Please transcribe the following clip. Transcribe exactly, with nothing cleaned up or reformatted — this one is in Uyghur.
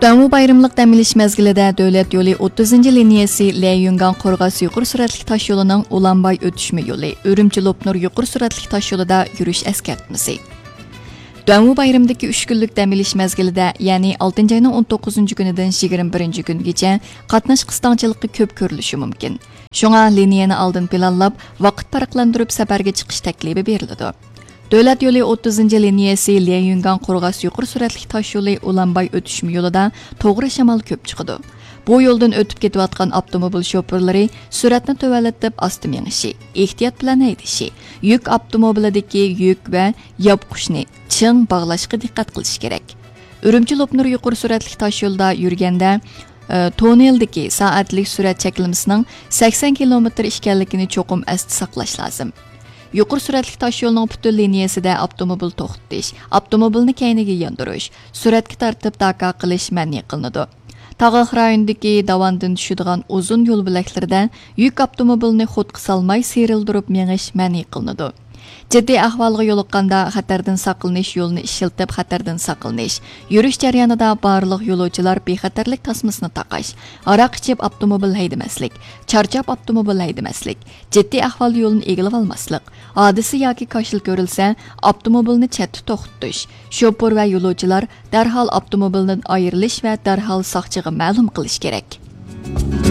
دۇەنۋۇ بايرىملىق دەم ئېلىش مەزگىلىدە دۆلەت يولى ئوتتۇزىنچى لىنىيەسى ليەنيۈنگاڭ قورغاس يۇقىرى سۈرئەتلىك تاش يولىنىڭ ئۇلانباي ئۆتۈشمە يولى، ئۈرۈمچى لوپنۇر يۇقىرى سۈرئەتلىك تاش يولىدا يۈرۈش ئەسكەرتمىسى. دۇەنۋۇ بايرىمىدىكى ئۈچ كۈنلۈك دەم ئېلىش مەزگىلىدە، يەنى ئالتىنچى ئاينىڭ ئون توققۇزىنچى كۈنىدىن يىگىرمە بىرىنچى كۈنىگىچە قاتناش قىستاڭچىلىقى كۆپ كۆرۈلۈشى مۇمكىن. شۇڭا لىنىيەنى ئالدىن پىلانلاپ، ۋاقىت پەرقلەندۈرۈپ سەپەرگە چىقىش تەكلىپى بېرىلىدۇ. دۆلەت يولى ئوتتۇزىنچى لىنىيەسى ليەنيۈنگاڭ قورغاس يۇقىرى سۈرئەتلىك تاش يولى ئۇلانباي ئۆتۈشمە يولىدا توغرا شامال كۆپ چىقىدۇ. بۇ يولدىن ئۆتۈپ كېتىۋاتقان ئاپتوموبىل شوپۇرلىرى سۈرئەتنى تۆۋەنلىتىپ ئاستا مېڭىشى، ئېھتىيات بىلەن ھەيدىشى، يۈك ئاپتوموبىلىدىكى يۈك ۋە ياپقۇچنى چىڭ باغلاشقا دىققەت قىلىشى كېرەك. ئۈرۈمچى لوپنۇر يۇقىرى سۈرئەتلىك تاش يولىدا يۈرگەندە، ئى، توننېلدىكى سائەتلىك سۈرئەت چەكلىمىسىنىڭ سەكسەن كىلومېتىر ئىكەنلىكىنى چوقۇم ئەستە ساقلاش لازىم. يۇقىرى سۈرئەتلىك تاش يولىنىڭ پۈتۈن لىنىيەسىدە ئاپتوموبىل توختىتىش، ئاپتوموبىلنى كەينىگە ياندۇرۇش، سۈرەتكە تارتىپ داكا قىلىش مەنئى قىلىنىدۇ. تاغلىق رايوندىكى داۋاندىن چۈشىدىغان ئۇزۇن يول بۆلەكلىرىدە يۈك ئاپتوموبىلىنى خۇدقا سالماي سىيرىلدۇرۇپ مېڭىش مەنئى قىلىنىدۇ. جىددىي ئەھۋالغا يولۇققاندا خەتەردىن ساقلىنىش يولىنى ئىشلىتىپ خەتەردىن ساقلىنىش، يۈرۈش جەريانىدا بارلىق يولۇچىلار بىخەتەرلىك تاسمىسىنى تاقاش، ھاراق ئىچىپ ئاپتوموبىل ھەيدىمەسلىك، چارچاپ ئاپتوموبىل ھەيدىمەسلىك، جىددىي ئەھۋالدا يولنى ئىگىلىۋالماسلىق، ھادىسە ياكى كاشىلا كۆرۈلسە، ئاپتوموبىلنى چەتتە توختىتىش، شوپۇر ۋە يولۇچىلار دەرھال ئاپتوموبىلدىن ئايرىلىش ۋە دەرھال ساقچىغا مەلۇم قىلىش كېرەك.